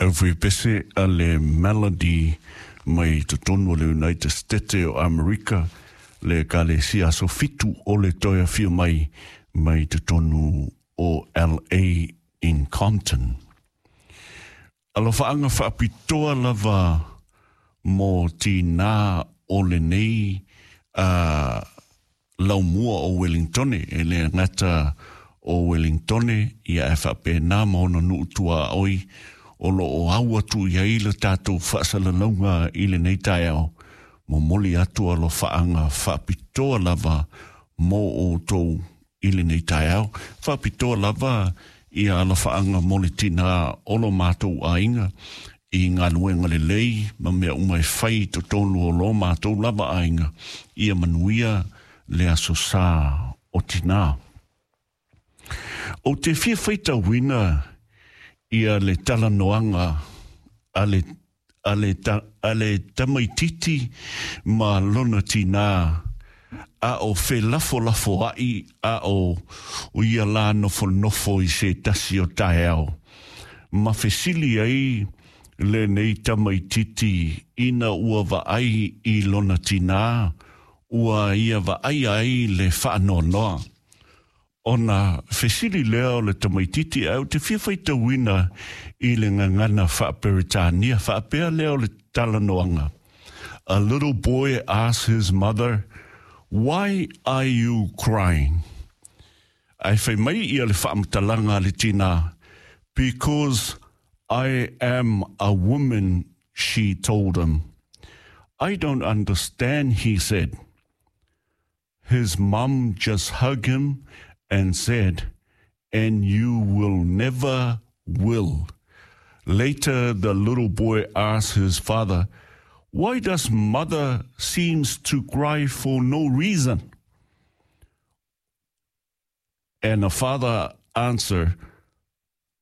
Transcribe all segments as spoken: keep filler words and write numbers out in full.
Aufaiepese a le Melody mai totonu o le United States o Amerika, le Ekalesia Aso Fitu o le Toe Afio Mai mai totonu o L A in Compton. Alofaaga faapitoa lava mo tinā o lenei uh, laumua o Wellingtone, e le gata o Wellingtone ia e faapena ma ona nuu tuaoi o lo o au atu i ai le tatou faasalalauga i lenei taeao. Momoli atu alofaaga faapitoa lava mo outou i lenei taeao. Faapitoa lava ia alofaaga mo le tinā o lo matou aiga i galuega lelei ma mea uma e fai totonu o lo matou lava aiga. Ia manuia le aso sā o tinā. Ou te fia faitauina ia le talanoaga a le a le, ta, a le tamaititi ma lona tinā a o felafolafoa'i a o o ia lā nofonofo i se tasi o taeao. Ma fesili ai lenei tamaititi ina ua vaai i lona tinā ua ia vaai ai le faanoanoa. Ona fesili lea o le tamaititi ae ou te fia faitauina i le gagana faaperetania faapea lea o le talanoaga. A little boy asked his mother, "Why are you crying?" Ae fai mai ia le faamatalaga a le tinā, "Because I am a woman," she told him. "I don't understand," he said. His mum just hugged him and said, "And you will never will." Later, the little boy asked his father, "Why does mother seems to cry for no reason?" And the father answered,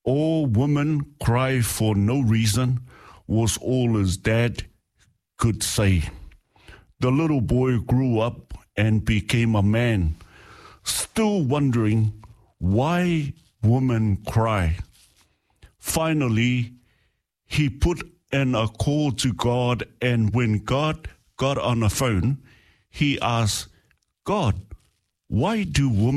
"All women cry for no reason," was all his dad could say. The little boy grew up and became a man, still wondering why women cry. Finally, he put in a call to God, and when God got on the phone, he asked, "God, why do women